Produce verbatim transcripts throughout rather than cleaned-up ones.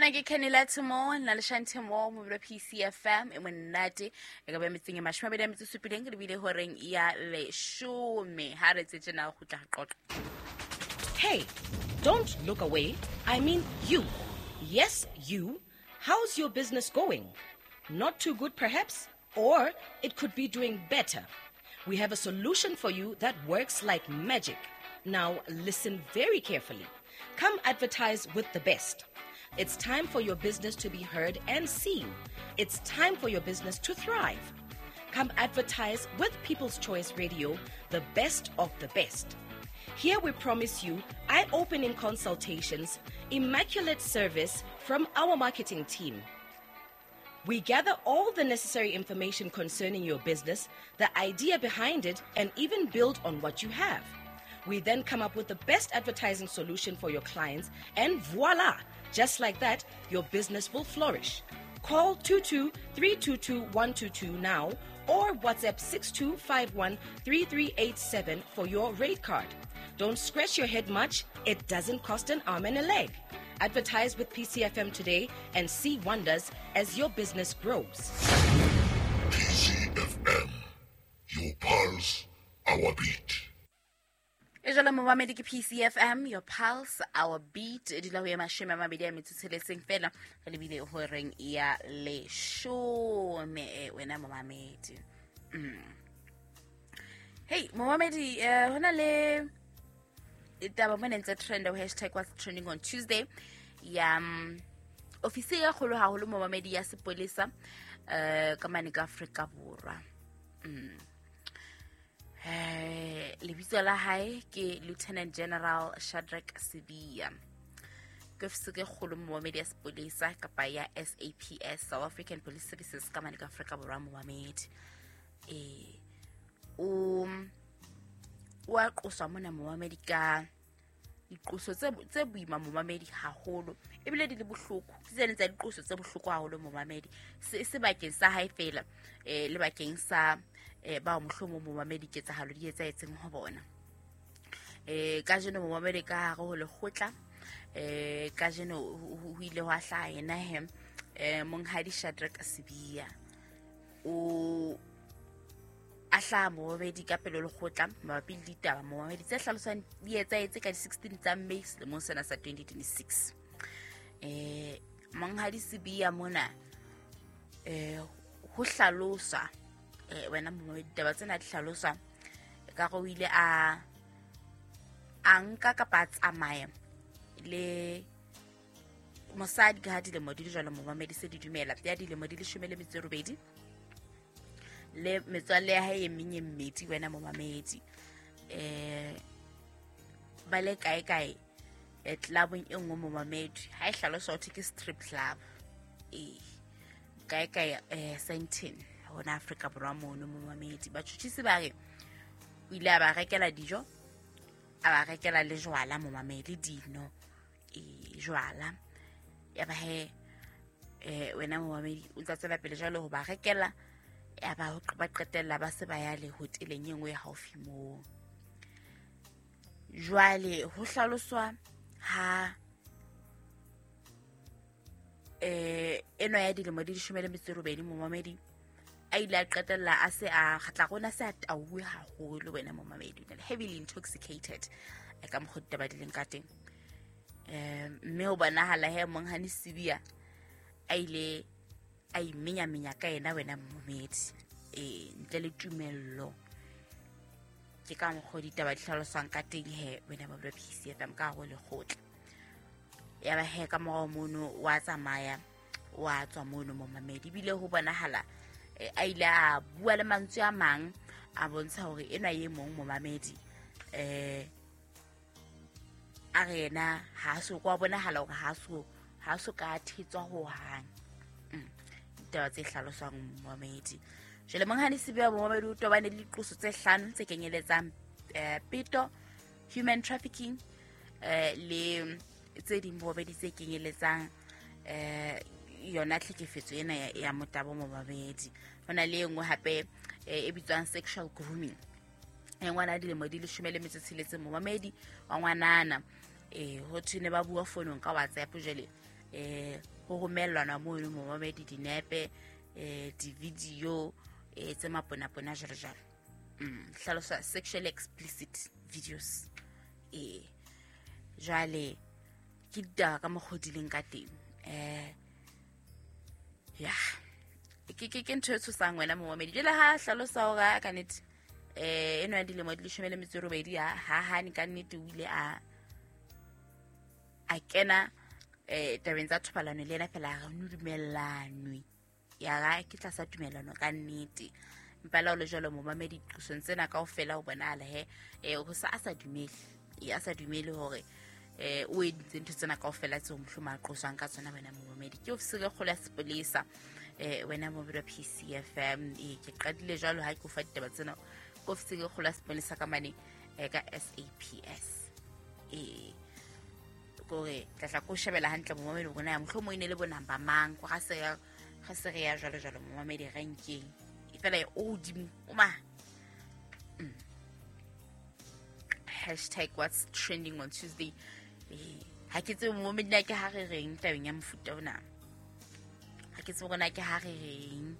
Ena ke Kenny Lattimore na le Shanti Mo mo P C F M e monate e ka ba metseng e mashome a mabedi a metso e supileng re bile horeng ya leshome ha re tse tjena go tla qoqa. Hey, don't look away. I mean you. Yes, you. How's your business going? Not too good perhaps, or it could be doing better. We have a solution for you that works like magic. Now listen very carefully. Come advertise with the best. It's time for your business to be heard and seen. It's time for your business to thrive. Come advertise with People's Choice Radio, the best of the best. Here we promise you eye-opening consultations, immaculate service from our marketing team. We gather all the necessary information concerning your business, the idea behind it, and even build on what you have. We then come up with the best advertising solution for your clients, and voila! Just like that, your business will flourish. Call two two three two two one two two now or WhatsApp six two five one three three eight seven for your rate card. Don't scratch your head much. It doesn't cost an arm and a leg. Advertise with P C F M today and see wonders as your business grows. P C F M, your pulse, our beat. E jalo momamedi ke P C F M, your pulse, our beat. E dula ho ya mashome a mabedi a metso tsheletseng fela re lebile horeng ya leshome wena momamedi. Mm. Hey momamedi, uh, hona le taba mona ntse trend ho hashtag what's trending on Tuesday ya um, ofisi ya kgolo haholo momamedi ya sepolesa uh, ka mane ka Afrika Borwa. Mm. Eh, lebitso la hae ke Lieutenant General Shadrack Sibiya. Ke ofisi e kgolo momamedi ya sepolesa kapa ya S A P S, South African Police Services ka mane ka Afrika Borwa momamedi. Eh, o wa qoswa mona momamedi ka diqoso tse tse boima momamedi haholo ebile di le bohloko tse leng tsa diqoso tse bohloko haholo momamedi se sebakeng sa hae fela eh le bakeng sa eh ba mohlomo momamedi ketsahalo di etsahetseng ho bona. Eh kajeno momamedi ka hare ho lekgotla eh kajeno ho ile hwa hlaha yena he eh monghadi Shadrack Sibiya o a hlaha momamedi ka pele lekgotla mabapi le ditaba momamedi tse hlalosang di etsahetse ka di sixteen tsa May selemong sena sa twenty twenty-six. Eh monghadi Sibiya mona eh ho hlalosa eh wena momamedi ditaba tsena di hlalosa ka go ile a a nka kapa a tsamaya le mosadi ka dilemo di le jwalo momamedi se di dumela ya dilemo di leshome le metso e robedi le metswalle ya hae e meng e mmedi wena momamedi eh ba le kae kae e clubong e nngwe momamedi ha e hlaloswa ho thwe ke strip club eh kae kae eh Sandton hona Afrika Borwa mono momamedi. Batjhutjhisi ba re o ile a ba rekela dijo a ba rekela le jwala momamedi dino eh jwala ya ba he eh wena momamedi o ntsa tswela pele jwalo ho ba rekela ya ba ba qetella ba se ba ya le hoteleng e nngwe haufi moo. Jwale ho hlaloswa ha eh eno ya dilemo di leshome le metso e robedi momamedi a ile a qetella a se a kgatla rona se a tauwe haholo wena momamedi heavily intoxicated ka mokgwa ditaba di leng ka teng. Eh mme ho bonahala he monghadi Sibiya a ile a imenyamenya ka yena wena momamedi eh ntle le tumello. Ke ka mokgwa ditaba di hlaloswang ka teng he wena ba P C F M ka hare ho lekgotla. Ya ba he ka morao mono wa tsamaya wa tswa mono momamedi ebile ho bonahala a ile a bua le mantswe a mang a bontsha hore enwa e mong momamedi eh a re yena ha so kwa bonahala hore ha so ha so ka thetswa ho hang. Ditaba tse hlaloswang momamedi. Jwale monghadi Sibiya momamedi o tobane le diqoso tse hlano tse kenyeletsang eh, peto, human trafficking eh, le tse ding momamedi tse kenyeletsang eh yona tlhekefetso ena ya, ya motabo momamedi. Hona le e nngwe hape e bitswang sexual grooming e ngwana dilemo di leshome le metso e tsheletseng momamedi wa ngwanana eh ho thwe ne ba bua fonong ka WhatsApp jwale Eh ho romellwana mono momamedi dinepe, eh di-video eh tse maponapona jwalo jwalo. Mm, hlalosa sexually explicit videos. Eh jwale ke ditaba ka mokgwa o di leng ka teng. Eh ya ke ke ke ntho e tshosang wena momamedi. Jwale ha hlalosa hore ka nnete eh eno ya dilemo di leshome le metso e robedi ha ha hane ka nnete o ile a a kena eh tabeng tsa thobalano le yena fela re no dumellanwe. Ya ga ke tlasa tumellano ka nnete. Empa le ha o le jwalo momamedi diqosong tsena kaofela ho bonahala he eh ho sa a sa dumele. E a sa dumele hore eh o entse ntho tsena kaofela tseo mohlomong a qoswang ka tsona wena momamedi. Ke ofisi e kgolo ya sepolesa eh wena momamedi wa P C F M. Eh ke qadile jwalo ha ke o fa ditaba tsena ke ofisi e kgolo ya sepolesa ka mane eh ka S A P S. Eh kore tla tla ko shebela hantle momamedi hore na mohlomong e ne le bo number mang ko ga se ga se re ya jwalo jwalo momamedi renkeng e fela e o hodimo o ma. Mm. Hashtag what's trending on Tuesday. Eh ha ke tsebe momamedi na ke ha re reng tabeng ya mofuta ona. Ha ke tsebe hore na ke ha re reng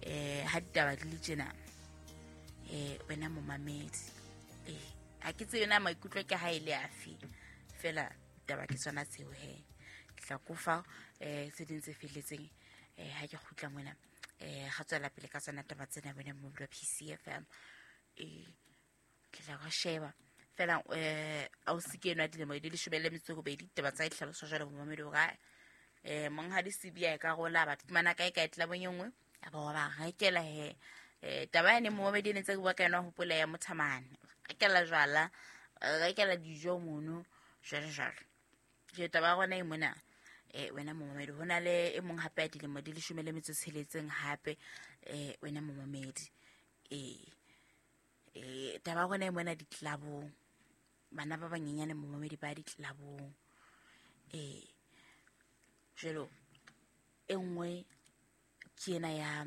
eh ha ditaba di le tjena. Eh wena momamedi eh ha ke tsebe na maikutlo ke ha e le afe fela taba ke tsona tseo he. Ke tla kofa eh tse ding tse felletseng eh ha ke kgutla mona eh ga tswela pele ka tsona taba tsena wena momamedi wa P C F M. Eh ke tla go sheba fela eh a o se ke enwa dilemo di leshome le metso e robedi taba tsa ditlhaloso jwalo momamedi hore eh monghadi Sibiya e ka rola batho fumana kae kae tlabong e nngwe a ba wa ba rekela he. Eh taba ene momamedi e ne ntse ke bua ka yona hopola ya mothamane rekela jwala rekela dijo mono jwalo jwalo. Ke taba ya rona e mona eh wena momamedi ho na le e mong hape ya dilemo di leshome le metso e tsheletseng hape eh wena momamedi. Eh eh taba ya rona e mona ditlabong bana ba banyenyane momamedi ba ditlabong. Eh jwalo e nngwe ke ena ya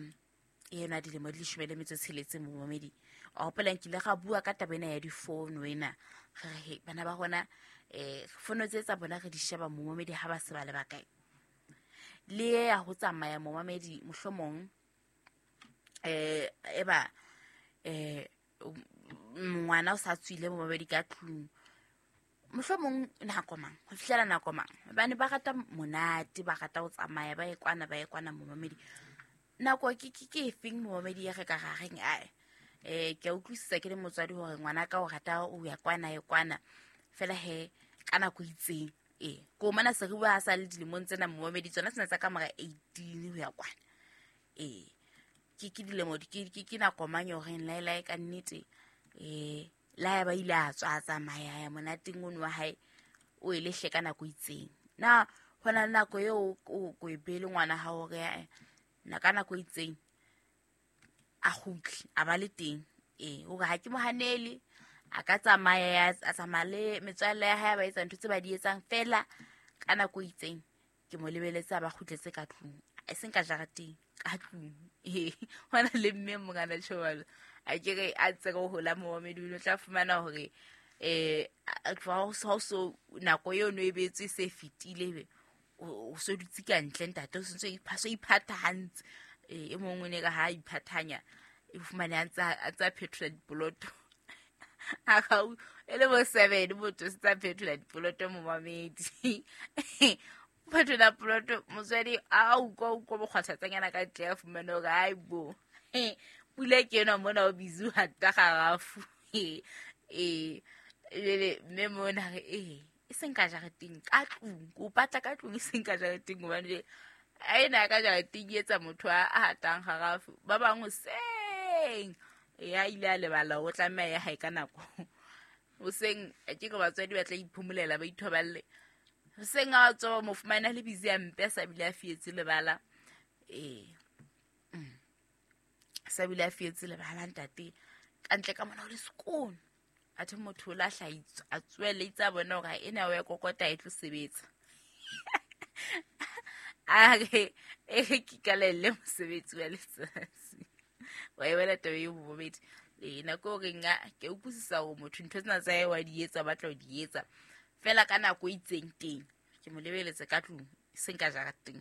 ena dilemo di leshome le metso e tsheletseng momamedi. A hopola nkile ga bua ka taba ena ya difounu wena re re he bana ba rona eh fono tse tsa bona re di sheba momamedi ha ba se ba le bakae. Le ya ho tsamaya momamedi mohlomong eh eba eh ngwana o sa tswile momamedi ka tlung mohlomong nako mang ho fihlela nako mang bane ba rata monate ba rata ho tsamaya ba ye kwana ba ye kwana momamedi. Nako ke ke ke efeng momamedi ya re ka ra reng ae eh ke a utlwisisa ke le motswadi hore ngwana ka o rata o ya kwana ye kwana fela he ka nako itseng eh ko mana se re bua sa le dilemong tsena momamedi tsona tsena tsa ka mora eighteen ho ya kwana. Eh ke ke dilemo ke ke ke nako mang yo reng lai lai ka nnete eh la ya ba ile a tswa tsamaya ya monateng ono wa hae o ile hle ka nako itseng. Na hona nako eo o ko e bele ngwana ha o re na ka nako itseng a kgutle a ba le teng. Eh o re ha ke mo hanele a ka tsamaya a tsamaya le metswalle ya hae ba etsa ntho tse ba di etsang fela ka nako itseng ke mo lebeletse a ba kgutletse ka tlung e seng ka jarateng ka tlung. Eh hona le mme mongana tjhobalo a ke re a tse go hola momamedi o tla fumana hore eh ha so nako eo no e betswe se fetile be o so dutse ka ntle ntate o sentse iphaso iphatha eh e mongwe ne ka ha iphathanya e fumane a ntsa a tsa phetola dipoloto a ga e le bo seven motho se tsa phetola dipoloto momamedi phetola poloto motswadi a utlwa utlwa bokgwathatsanyana ka ntle a fumane hore ai bo pula ke ena mona o busy hata garafu eh le mme mona re eh e seng ka jareteng ka tlung ko patla ka tlung e seng ka jareteng hobane a ena ka jareteng e etsa motho a hatang garafu ba bang hoseng ya ile a lebala o tlameha ya hae ka nako hoseng ke ke batswadi ba tla iphomolela ba ithoballe hoseng a tswa mo fumana le busy ya mpe sa bile a fietse lebala eh sa bile a fietse lebala ntate ka ntle ka mona o le sekolo a the motho o la hlaitse a tswele itse a bona hore ena o ya kokota e tlo sebetsa a re e ke kalelle mosebetsi wa letsatsi wa e wela taba eo bobedi e nako re nga ke utlwisisa hore motho ntho tsena tsa hae wa di etsa ba tla di etsa fela ka nako e itseng teng ke mo lebeletse ka tlung Seng ka jarateng.